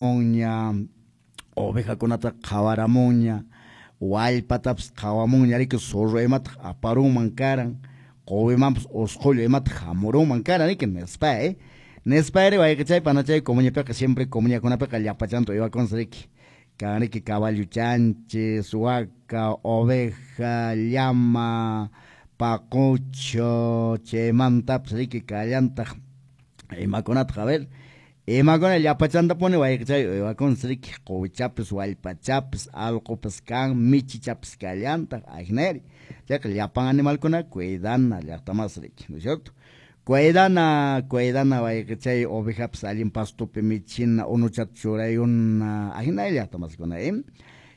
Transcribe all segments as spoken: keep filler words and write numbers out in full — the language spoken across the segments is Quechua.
Qhawaramunña, ovejakunata qhawaramunña, wallpatapas qhawamunña riki, zorro imataq aparunman karan, quwimanpas usqhullu imataq hamurunman karan riki, nispa eh. Nispa ri wayqichay panachay comuñapiqa siempre comuñakunapiqa llapachanta uywakunsi riki. Kan riki caballo chanchis, waka, oveja, llama, paqucho, chaymantapas riki kallantaq imakunataq, a ver, imakuna llapachantapuni wayqichay uywakunsi riki, quwichapis, wallpachapis, allqupas kan, michichapis kallantaq, ajinari. Chayqa llapan animalkuna cuidana llaqtamas riki, ¿no es cierto? Cuidana, cuidana wayqichay ovejapas allin pastupi michina, unuchata churayuna, ajinari llaqtamaskuna, eh?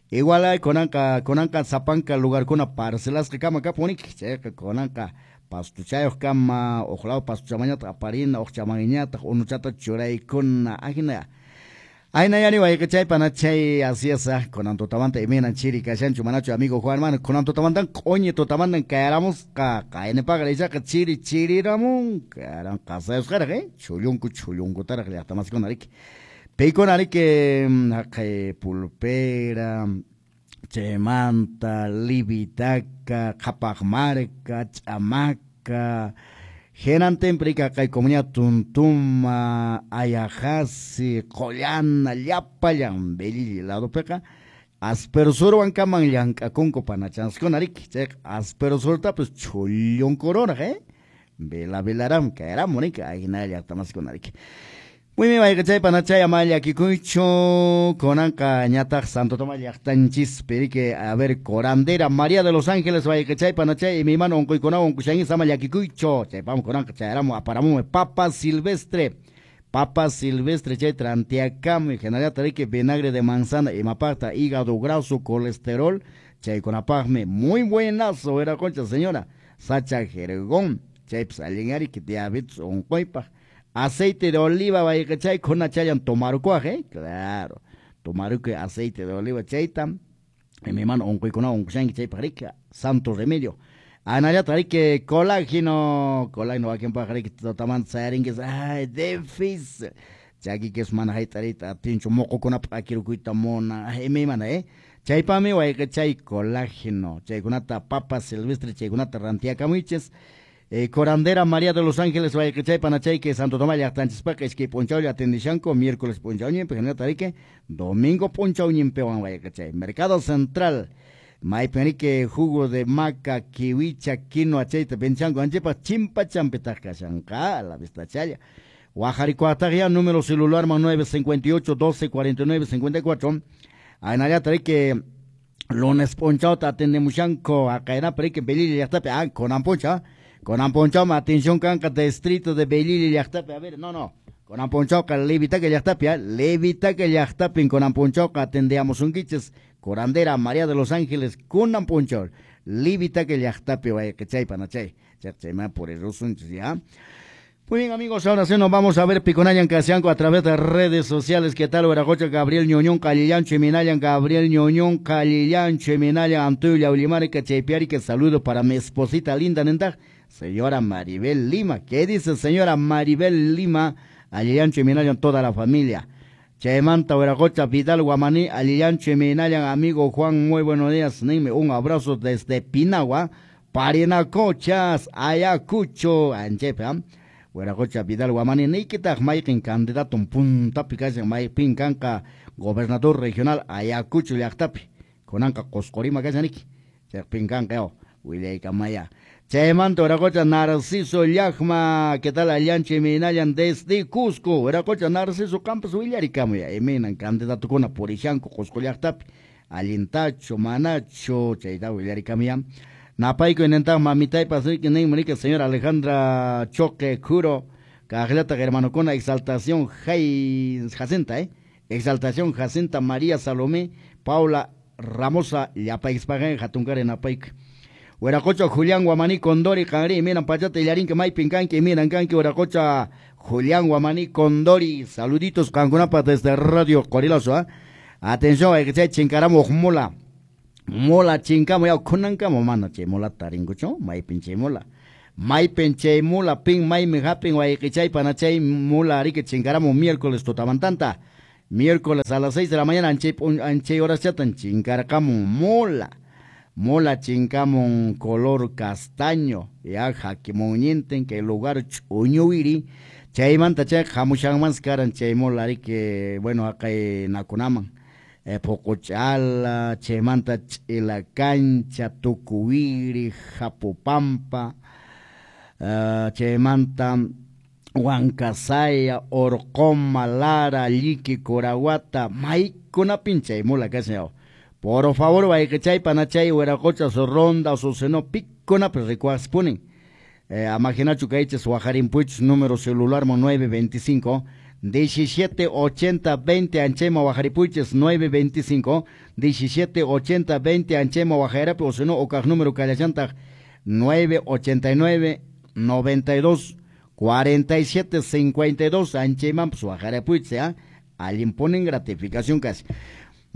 Igual hay kunanqa, kunanqa sapanka lugarkuna parcelasqa kama kapuniki, chayqa kunanqa pastuchayuq kama, uq law pastuchamañataq aparina, uq chamañataq unuchata churaykuna, ajina. Ayna yani wayqichay panachay, así es, kunan tutamanta imaynan chiri kashanchu manachu amigo Juan hermano, kunan tutamantan q'uñi tutamantan kayaramusqa, qaynipaqa ichaqa chiri chiriramun, karan qasayusqaraq, eh, chullunku chullunkutaraq llaqtamaskuna riki. Piykuna riki haqay pulpera, chaymanta Livitaca, Qhapaqmarka, Ch'amaka, hinantinpi riki haqay comunidad Tuntuma, Ayajasi, Qollana, llapallan Belilli ladopiqa aspersurwan kaman llank'akunku panachanskuna riki, chayqa aspersurtapas chullunkurunaq, eh, vela velaram kayramun riki, ajina llaqtamaskuna riki. Muy bien, wayqichay panachay ama llakikuychu, kunanqa ñataq Santo Tomás llaqtanchispi riki, a ver, curandera María de los Ángeles wayqichay panachay imaymana unquykunawan unqushanchis ama llakikuychu, chaypam kunanqa chayaramu aparamunmi papa silvestre, papa silvestre chay trantiakamuy, hinallataq riki vinagre de manzana imapaqta hígado graso, colesterol, chaykunapaqmi muy buenazo wiraqucha señora Sacha Jergón, chaypas allin riki diabetes unquypaq. Aceite de oliva wayqichay kunachayan tomarukuaq, eh, claro, tomarukuy aceite de oliva chayta, imaymana unquykunawan unqushanki chaypaq riki, santo remedio. Anallataq riki colágeno, colágeno wakinpaq riki tutamanta sayarinkis, ay, difícil, chakikis mana hayt'ariyta atinchu, muqukunapaq akirukuyta munan, ay, imaymana, eh, chaypami wayqichay colágeno, chaykunata papa silvestre chaykunata rantiakamuychis. Eh, curandera María de los Ángeles wayqichay panachay que Santo Tomás llaqtanchispaqa iskay p'unchawlla atendishanku, miércoles p'unchawñinpi, hinallataq riki domingo p'unchawñinpiwan wayqichay. Mercado Central, maypin riki jugo de maca, kiwicha, quinoa chayta vendishanku anchipaq chimpachampitaq kashanqa, a la vista challa. Wajarikuataq ya número celular man nueve cincuenta y ocho, doce, cuarenta y nueve, cincuenta y cuatro. Hinallataq riki lunes p'unchawta atendemushanku, aqaynapi riki Belilli llaqtapi, ah, kunan p'unchaw, kunan p'unchawmi atención kanqa distrito de Belilli llaqtapi, a ver, no, no, kunan p'unchawqa Livitaca llaqtapi, ah, Livitaca llaqtapin kunan p'unchawqa atendeamusunkichis, curandera María de los Ángeles, kunan p'unchaw, Livitaca llaqtapi wayqichay panachay, chayman purirusunchis, ya. Muy bien, amigos, ahora sí nos vamos a ver Piconayan Casianco a través de redes sociales. ¿Qué tal, Huiracocha? Gabriel Ñoñón, Calillancho, Minayan, Gabriel Ñoñón, Calillancho, Minayan, Antuya, Ulimarica, Chaypiarica. Saludo para mi esposita linda, nenda, señora Maribel Lima. ¿Qué dice señora Maribel Lima? Alillancho, Minayan, toda la familia. Chaymanta, Huiracocha, Vidal, Guamaní, Alillancho, Minayan, amigo Juan, muy buenos días. Nime, un abrazo desde Pinagua, Parinacochas, Ayacucho, Anchepe, ¿eh? Huiracocha Vidal Guamani, niykitaq mayqin candidato puntapi kashan, maypin kanqa gobernador regional Ayacucho llaqtapi, kunanqa Qusqurima kashan niki, chaypin kanqa yaw, willaykamaya. Chaymanta Huiracocha Narciso Llaqma, ¿qué tal Allancho Minayan desde Cusco? Huiracocha Narciso Campos willarikamuya, imaynan candidatukuna purishanku Qusqu llaqtapi, allintachu, manachu, chayta willarikamuya. Napayku inentaq mamitaypas riki ninmi riki señora Alejandra Choque Curo, kaqllataq hermanokuna Exaltación Jai Jacinta, eh? Exaltación Jacinta María Salomé Paula Ramosa llapaykispaqen hatunkari napayku. Huiracocha Julián Guamaní Condori qanri imaynan pachata illarinki maypin kanki imaynan kanki Huiracocha Julián Guamaní Condori, saluditos qankunapaq desde Radio Qorilazo, ¿eh? Atención, wayqichay chinkaramuq mula. Mola chinkamo yaw kunankamo mana chay mola tarinkuchu, maypin chay mola. Maypin chay mola pin maymi hapin wayqichay panachay mola riki chinkaramu miércoles tutamantanta. Miércoles a las seis de la mañana anchay anchay horaschatan chinkarqamun mula. Mula chinkamun color castaño, ya hakimunñintin kay lugar ch'uñuwiri. Chaymanta chayqa hamushanmansi karan chay mula riki, bueno, haqay nakunaman. Eh, Puquch'ala, chaymanta Ch'ila Cancha, Tukuwiri, Japupampa, uh, chaymanta Huancasaya, Orqoma, Lara, Lliqui, Curahuata, maykunapin chay mula kashan. Por favor, wayqichay panachay, wiraqocha, su ronda, su seno, pikunapi rikuaqpunin. Eh, amajinachu kaychis wajarinpuychis número celular nueve veinticinco diecisiete ochenta veinte anchayma wajaripuychis nueve veinticinco diecisiete ochenta veinte anchayma wajarapi o sino okaq número kallachantaq nueve ochenta y nueve noventa y dos cuarenta y siete cincuenta y dos anchaymanpas wajarapuychis ya allin ponen gratificación casi.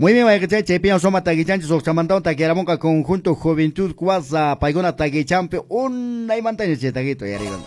Muy bien, wayqichay, chaypiña suma taquichanchis uqchamantawan taquiramunqa conjunto Juventud Cuasa paykuna taquichampi unaymantaña chay taquito yariguna.